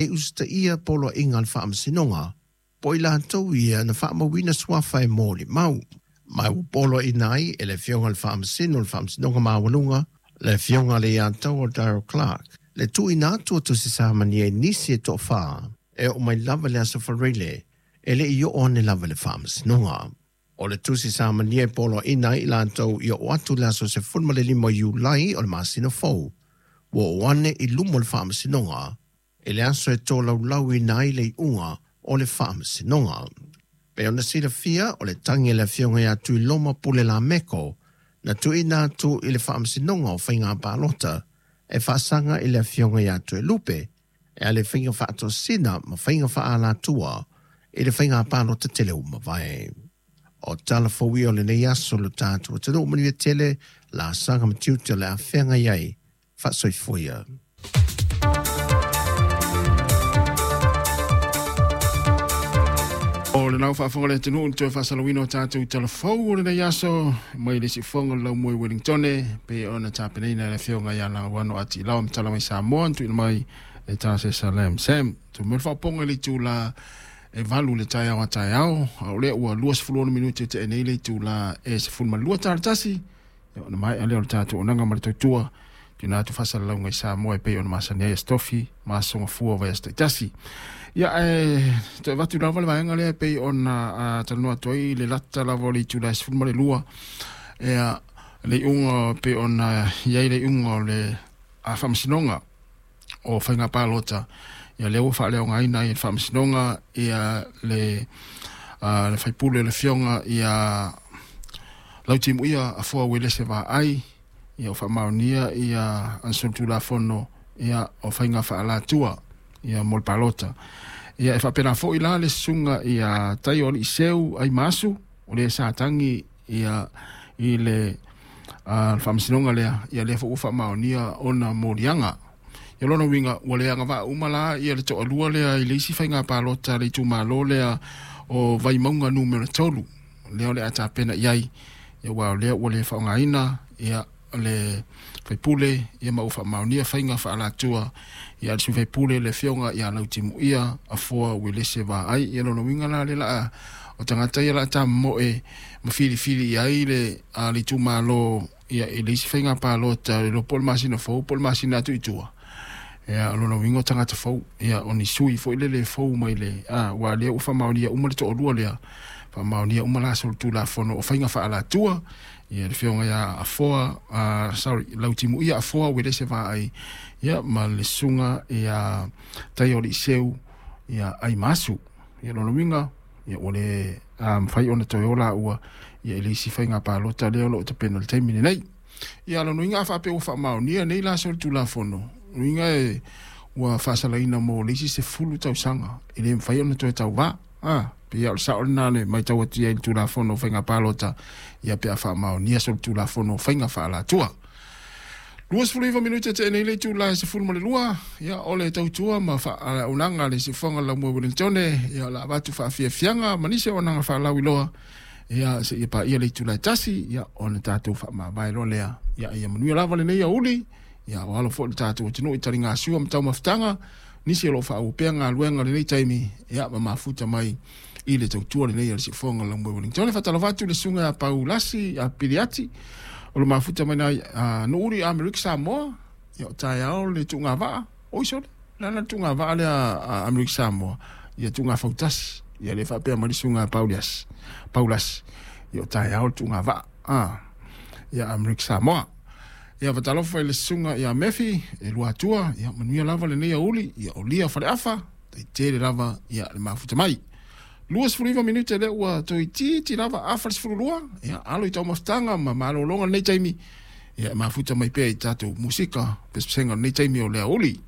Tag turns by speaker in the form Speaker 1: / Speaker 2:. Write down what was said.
Speaker 1: E usitaia poloaiga a le Faamasinoga po o i latou ia na faamauina suafa e molimau. Ma ua poloaiina ai e le Afioga i le Faamasino o le Faamasinoga Maualuga, le Afioga i le Iataua Daryl Clarke, le tuuina atu o tusi samania i nisi e toafa e oo mai lava i le Aso Faraile e le i oo ane lava i le Faamasinoga. O le tusi samania e poloaiina ai i latou i oo atu i le aso 15 o Iulai o le masina fou, ua oo ane i luma o le Faamasinoga i le aso e tolaulauina ai le iuga o le Faamasinoga. Pei ona silafia, o le tagi a le Afioga ia Tuiloma Pule Lameko na tuuina atu i le Faamasinoga o Faiga Palota e faasaga i le Afioga ia Toelupe e ala i faiga faatosina ma faiga faaalatua i le faiga palota tele ua mavae. O tala fou ia o lenei aso lo tatou atunuu, manuia tele laasaga ma tiute o le a feagai ai. Faasoifua ia.
Speaker 2: O le lau faafofoga le atunuu i le toe faasalauina o tatou tala fou o lenei aso mai le siufofoga o le laumua i Wellingtone pei ona tapenaina e le afioga ia Lauano Atiilao ma tala mai Samoa na tuuina mai e Tasesa Lam Sam. Tumau le faaopoopoga i le itula e 8 i le taeao a taeao, a o lea ua 26 minute tea nei le itula e 12 tala tasi. Ia, ona maea lea o le tatou onaga ma le tautua tuuina atu faasalalauga i Samoa e pei ona masani ai Aso Tofi ma Aso Gafua o vaiaso taitasi. Ia, ae toe avatu lava le vaega lea e pei ona talanoa atu ai i le lata lava o le itula e 12, ia, le iuga pei ona i ai le iuga o le Faamasinoga o Faiga Palota, ia lea ua faaleaogaina ai e le Faamasinoga ia le le faipule o le afioga ia Lautimuia Afoa Uelese Vaai, ia ua faamaonia ia ana solitulafono ia o faiga faaalatua ia mo le palota. Ia e faapena foi la le susuga ia Taio Aliiseu Aimaasu, o le sa tagi ia i le faamasinoga lea, ia lea foi ua faamaonia ona moliaga. Ia lona uiga ua le agavaa uma la ia le toalua lea i le isi faiga palota a le itumalo lea o Vaimauga numera 3 lea o le a tapena i ai, ia aua o lea ua le faaaogaina ia le faipule, ia ma ua faamaonia faiga faaalatua ia a le sui faipule le afioga ia Lautimuia Afoa Uelese Vaai. Ia lona uiga la lea la o tagata ia la tamomoe ma filifili i ai le le itumalo ia i le isi faiga palota le iloa po o le masina fou po o le masina atu i tua. Ia o lona uiga o tagata fou, ia o ni sui foi lele fou mai le aua lea ua faamaonia uma le toalua lea, faamaonia uma la solitulafono o faiga faaalatua ia le afioga ia Afoa, sorry, Lautimuia Afoa Uelese Vaai, ia ma le susuga ia Taio Aliiseu ia Aimaasu. Ia lona uiga ia ua le mafai ona toe o laua ia i le isi faiga palota lea o lo o tapena i le taimi lenei. Ia lona uiga a faapea ua faamaonia nei la solitulafono, uiga e ua faasalaina mo le isi 10 tausaga e le mafai ona toe tauvā. Pei o le sao lena le matau atu i ai i le Tulafono o Faiga Palota, ia pe a faamaonia solitulafono o faiga faaalatua. 29 minute tea nei le itula e 12, ia o le tautua ma faaunaga a le siufofoga o le Laumua Wellingtone, ia o le a avatu faafiafiaga ma nisi o auaunaga faalauiloa, ia seia paia le itula e 1, ia ona tatou faamavae loa lea. Ia ia manuia lava lenei aoauli, ia o alo foi le tatou atunuu i taligasua ma taumafataga, nisi o lo o faaauau pea galuega i lenei taimi, ia ma mafuta mai i le tautua lenei a le siufofoga o le Laumua Wellingtone. Faatalofa atu i le susuga ia Paulasi Piliati, o lo mafuta mai na Nuuri Amerika Samoa, ia o taeao le tuugavaa, oi sole, le a la le tuugavaa lea a Amerika Samoa, ia tuugafautasi, ia le faapea mai le susuga ia Pauliasi, Paulasi, ia o taeao le tuugavaa, ia Amerika Samoa. Ia faatalofa i le susuga ia Mefi e Luatua, ia manuia lava lenei aoauli, ia o lia faleafa, taitele lava ia le mafuta mai. 29 minute lea ua toeitiiti lava afa le 12, ia alo i taumafataga ma malologa lenei taimi, ia e mafuta mai pea i tatou musika pesepesega o lenei taimi o le aoauli.